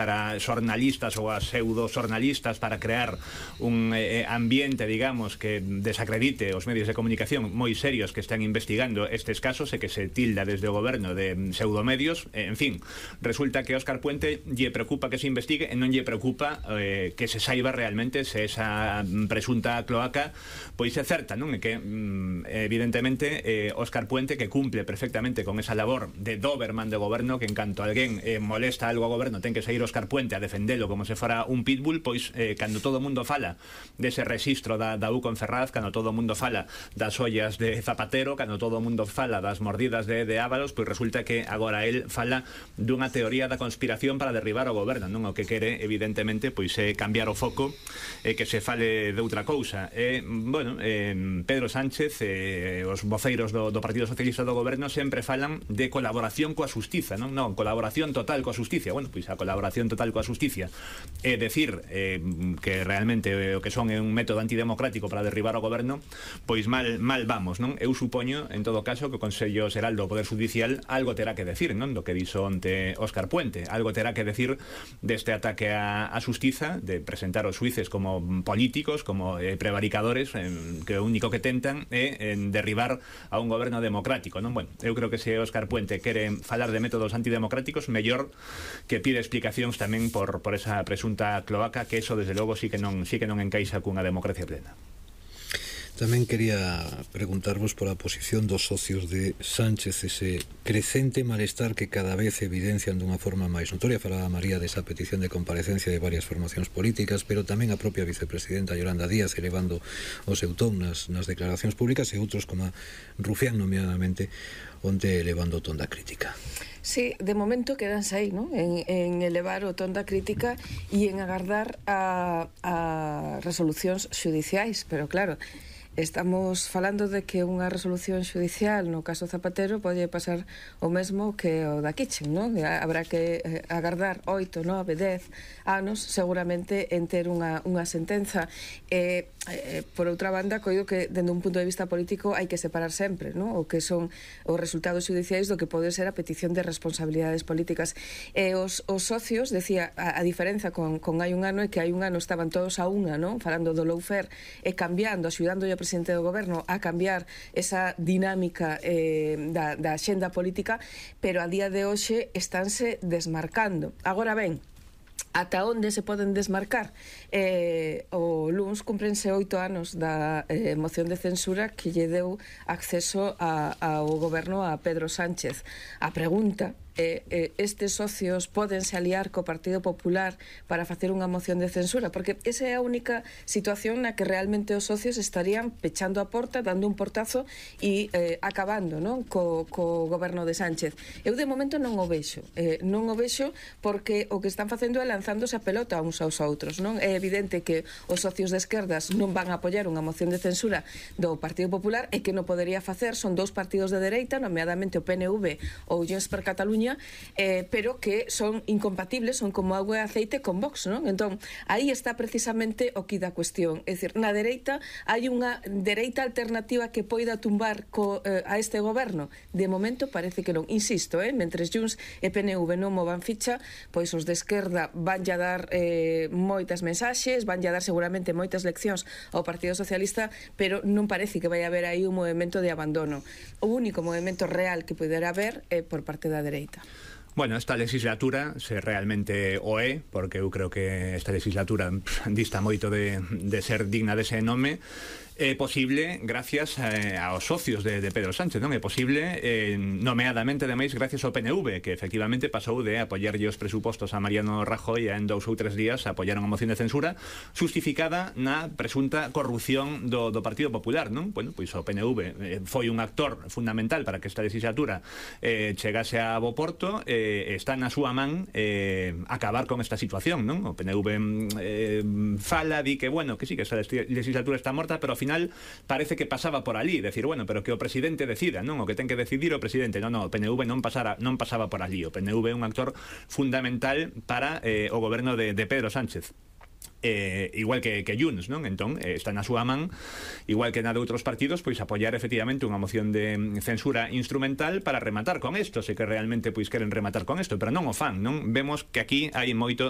para xornalistas ou a pseudo-xornalistas para crear un ambiente, digamos, que desacredite os medios de comunicación moi serios que están investigando estes casos e que se tilda desde o goberno de pseudomedios. En fin, resulta que Óscar Puente lle preocupa que se investigue e non lle preocupa que se saiba realmente se esa presunta cloaca pois é certa, non? E que evidentemente Óscar Puente, que cumple perfectamente con esa labor de Doberman de goberno, que en canto alguén molesta algo ao goberno ten que sair Óscar Puente a defendelo como se fora un pitbull, pois cando todo o mundo fala dese rexistro da U con Ferraz, cando todo o mundo fala das ollas de Zapatero, cando todo o mundo fala das mordidas de Ábalos, pois resulta que agora él fala dunha teoría da conspiración para derribar o goberno, non? O que quere, evidentemente, pois é cambiar o foco e que se fale de outra cousa. Bueno, Pedro Sánchez, os voceiros do Partido Socialista do goberno sempre falan de colaboración coa xustiza, non? Non, colaboración total coa xusticia. Bueno, pois a colaboración total coa xusticia é decir que realmente o que son é un método antidemocrático para derribar o goberno, pois mal vamos, non? Eu supoño, en todo caso, que o Consello Xeral do Poder Judicial algo terá que decir, non? Do que dixo onte Óscar Puente, algo terá que decir deste ataque á xustiza, de presentar os xuíces como políticos, como prevaricadores, que o único que tentan é derribar a un goberno democrático, non? Bueno, eu creo que se Óscar Puente quere falar de métodos antidemocráticos, mellor que pide explicacións tamén por esa presunta cloaca, que eso desde logo sí que non encaixa cunha democracia plena. Tamén quería preguntarvos por a posición dos socios de Sánchez, ese crecente malestar que cada vez evidencian dunha forma máis notoria. Falaba María desa petición de comparecencia de varias formacións políticas, pero tamén a propia vicepresidenta Yolanda Díaz elevando o seu ton nas declaracións públicas, e outros como Rufián nomeadamente onde elevando o ton da crítica. Sí, de momento quedanse aí, ¿no? En elevar o ton da crítica e en agardar a resolucións xudiciais, pero claro, estamos falando de que unha resolución xudicial no caso Zapatero pode pasar o mesmo que o da Kitchen, non? Habrá que agardar 8, 9, 10 anos seguramente en ter unha sentenza. Por outra banda, coido que dende un punto de vista político hai que separar sempre, non? O que son os resultados xudiciais do que pode ser a petición de responsabilidades políticas. Os socios, decía, a diferenza con hai un ano é que hai un ano estaban todos a unha, non? Falando do lawfare e cambiando, axudando ao presidente do goberno a cambiar esa dinámica da axenda política, pero a día de hoxe estánse desmarcando. Agora ben, ata onde se poden desmarcar? O luns cumprense 8 anos da moción de censura que lle deu acceso ao goberno a Pedro Sánchez. A pregunta estes socios pódense aliar co Partido Popular para facer unha moción de censura, porque esa é a única situación na que realmente os socios estarían pechando a porta, dando un portazo e acabando, non? Co goberno de Sánchez. Eu de momento non o vexo, porque o que están facendo é lanzándose a pelota uns aos outros, non? É evidente que os socios de esquerdas non van a apoiar unha moción de censura do Partido Popular e que non podería facer son dous partidos de dereita, nomeadamente o PNV ou Junts per Catalunya, pero que son incompatibles, son como agua e aceite con Vox, non? Entón, aí está precisamente o que da cuestión. É dicir, na dereita hai unha dereita alternativa que poida tumbar a este goberno. De momento parece que non. Insisto, mentres Junts e PNV non movan ficha, pois os de esquerda van a dar moitas mensaxes, van a dar seguramente moitas leccións ao Partido Socialista, pero non parece que vai haber aí un movimento de abandono. O único movimento real que poderá haber é por parte da dereita. Bueno, esta legislatura se realmente o é, porque eu creo que esta legislatura dista moito de ser digna dese nome. É posible gracias aos socios de Pedro Sánchez, non? É posible nomeadamente, ademais, gracias ao PNV, que efectivamente pasou de apoiarlle os presupostos a Mariano Rajoy e en 2 ou 3 días apoiaron a moción de censura justificada na presunta corrupción do Partido Popular, non? Bueno, pois o PNV foi un actor fundamental para que esta legislatura chegase a bo porto, está na súa man acabar con esta situación, non? O PNV fala, di que, bueno, que sí, que esta legislatura está morta, pero ao final parece que pasaba por ali, decir, bueno, pero que o presidente decida, non? O que ten que decidir o presidente. Non, o PNV non pasaba por ali. O PNV é un actor fundamental para o goberno de Pedro Sánchez. igual que Junts, non? Entón, está na súa man, igual que na de outros partidos, pois apoiar efectivamente unha moción de censura instrumental para rematar con isto, se que realmente pois queren rematar con isto, pero non o fan, non? Vemos que aquí hai moito